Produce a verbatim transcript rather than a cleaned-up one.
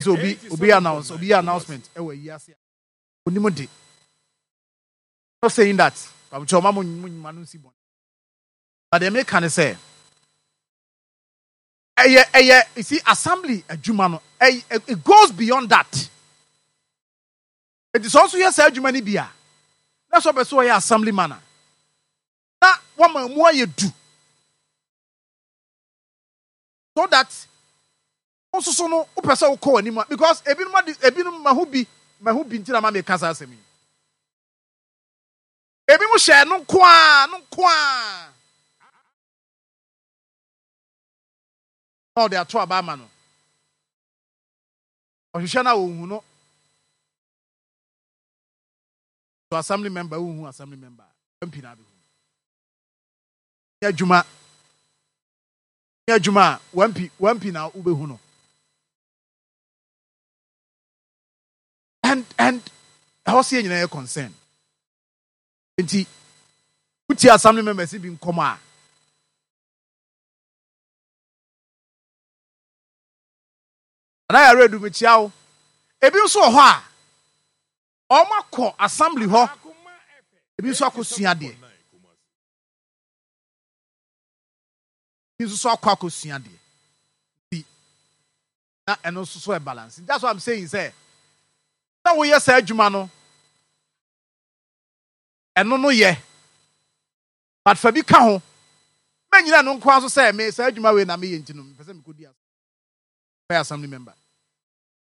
Sɛ obi obi announce, obi yɛ announcement ɛwɔ ayi ase a, onim de. Not saying that pamukyɛ ɔma mo mo nyuma no nsi bɔn, but deɛ meka ne sɛ ɛyɛ ɛyɛ you see, assembly adwuma no, ɛyɛ, it goes beyond that. Eti sɛ ɔnso yɛ saa adwuma no bi a, na sɛ ɔbɛ so ɔyɛ assembly man a, na wama mu ayɛ du so that nso so no wopɛ sɛ wokɔ w'anim a, because ebinom ade, ebinom mahu bi mahu bi nti na ma meka saa asɛm yi. Ebinom hyɛ no nko ara no nko ara na ɔde ato aba ama no. Ɔhwehwɛ no a, ɔnhu no. So assembly member, wohu assembly member, M P na abɛhu nyɛ adwuma, nyɛ adwuma a one P one P na wobɛhu no. and and ɛhɔ sɛ yɛ nyinaa yɛ concern. Nti wotie assembly members bi nkɔmɔ a, anaa yɛrɛ edu mekyia wo. Ebi nso wɔ hɔ a wɔn akɔ assembly hɔ, ebi nso akɔ sua adeɛ, ebi nso so akɔ akɔ sua adeɛ. Nti na ɛno nso so yɛ balance. That's what I'm saying, sɛ na woyɛ saa adwuma no, ɛno no yɛ, but fa bi ka ho. Mɛnyina no nko ara so sɛ me saa adwuma wei na meyɛ nti no mepɛ sɛ mekɔdi bɛyɛ assembly member.